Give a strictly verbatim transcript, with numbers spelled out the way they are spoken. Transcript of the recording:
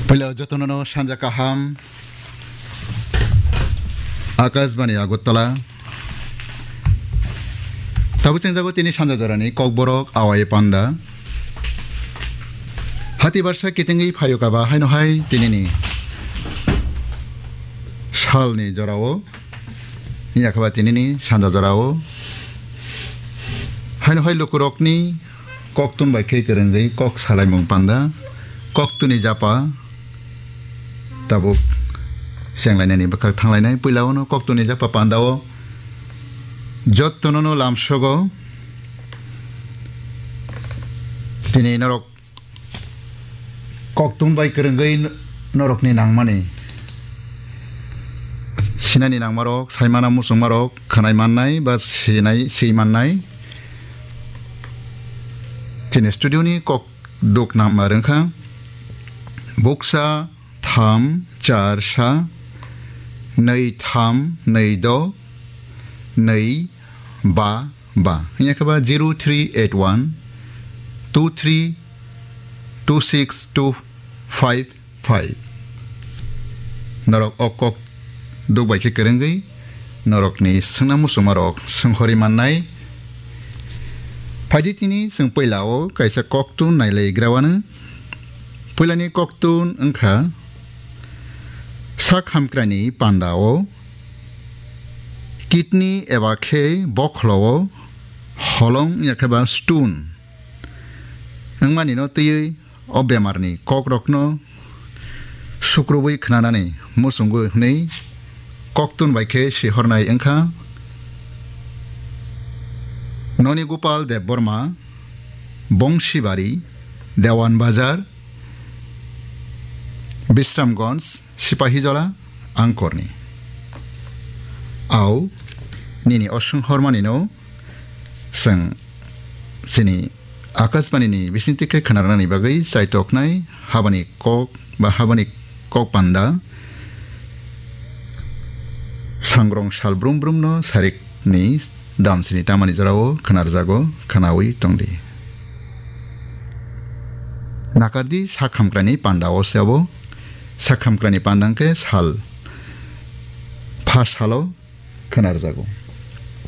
Puila jotono no sanja kaham. Akashbani Agartala. Tabuk chengjago tini sanja jorani Kokborok Awai Panda. Hati barsa kitingwi phayokaba haino hai tinini salni jorao. Yakhaba tinini sanja jorao. Haino hai lukurokni koktun bai khe kwrwngwi kok salaimung panda, koktuni japa tabuk chenglainani bwkhak thanglainai. Puila ono koktuni japa pandao jottono no lamsogo tini norok koktun bai kwrwngwi norokni nangmani. Sinani nangmarok, saimana muchungmarok, khwnai mannai ba sinai, si mannai. Chini studio ni kok duk nangma rwngkha. Buksa tham char sa, nwi tham nwi do, nwi ba ba. Hingya khe ba zero three eight one two three two six two five five. Norok o kok duk bai khe kwrwngwi norokni swngna muchungmarok swnghorwi mannai. Phaidi tini chwng puila o kaisa koktun nailai grawano. Puilani koktun wngkha sak hamkrani panda o kidney eba khe bokholo o holong ya khe ba stone wngmani no twiwi o bemarni kokrokno sukrubwi khnanani muchungo hwnwi koktun bai khe sihornai wngkha. Noni Gopal Debbarma, Bongsibari, Dewan Bazar, Bisramganj, Sipahijola, Angkorni. Au, nini o swnghormanino chwng chini Akashbani ni bisingtwi khe khwnarnani bagwi chaitoknai habani kok ba habani kok panda sangrong sal brum brum no sarik ni damsini tamani jorao khwnarjago, khwnawi tongdi. Nakardi sak hamkrani panda o se abo, sak hamkrani panda hwnkhe sal pha salo khwnarjago.